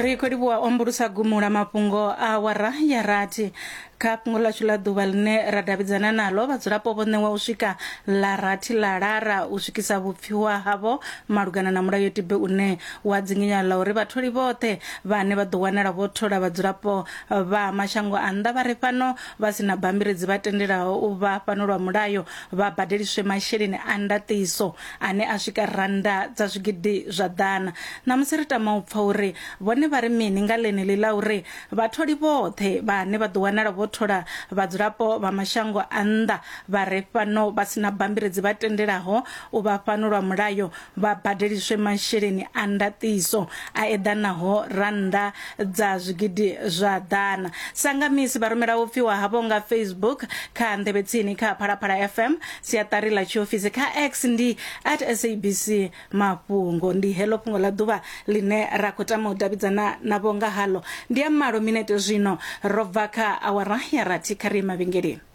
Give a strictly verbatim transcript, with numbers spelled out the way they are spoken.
Ri khou livhuwa ombulusa gumula mafhungo a awara ya rathi. Kha fhungo ḽashu ḽa ḓuvha ḽine ra davhidzana nalo, vhadzulapo vho ṋewa u swika ḽa rathi ḽa lara u swikisa vhupfiwa havho malugana na mulayotibe une wa dzinginya ḽa uri vhatholi vhoṱhe vhane vha ḓo wanala vho thola vhadzulapo vha mashango a nnḓa vha re fhano vha si na bammbiri dzi vha tendelaho u vha fhano lwa mulayo vha badeliswe masheleni a ndaṱiso ane a swika rannda dza zwigidi zwa ḓana. Ṋamusi ri tama u pfa uri vhone vha ri mini nga ḽeneḽi ḽa uri vhatholi vhoṱhe vhane vha ḓo wanala vho thola vhadzulapo vha mashango a nnḓa vha re fhano vha si na bammbiri dzi vha tendelaho u vha fhano lwa mulayo vha badeliswe masheleni a ndaṱiso a eḓanaho rannda dza zwigidi zwa ḓana. Sanga misi vha rumela vhupfiwa havho nga Facebook kha nḓevhe tsini kha Phalaphala F M, siaṱari ḽa tshiofisi kha X ndi at S A B C mafhungo. Ndi heḽo fhungo ḽa ḓuvha ḽine ra khou tama u davhidzana navho nga halo. Ndi ya malo minete zwino ro bva kha awara ya rathi. Kha ri mavhengeleni.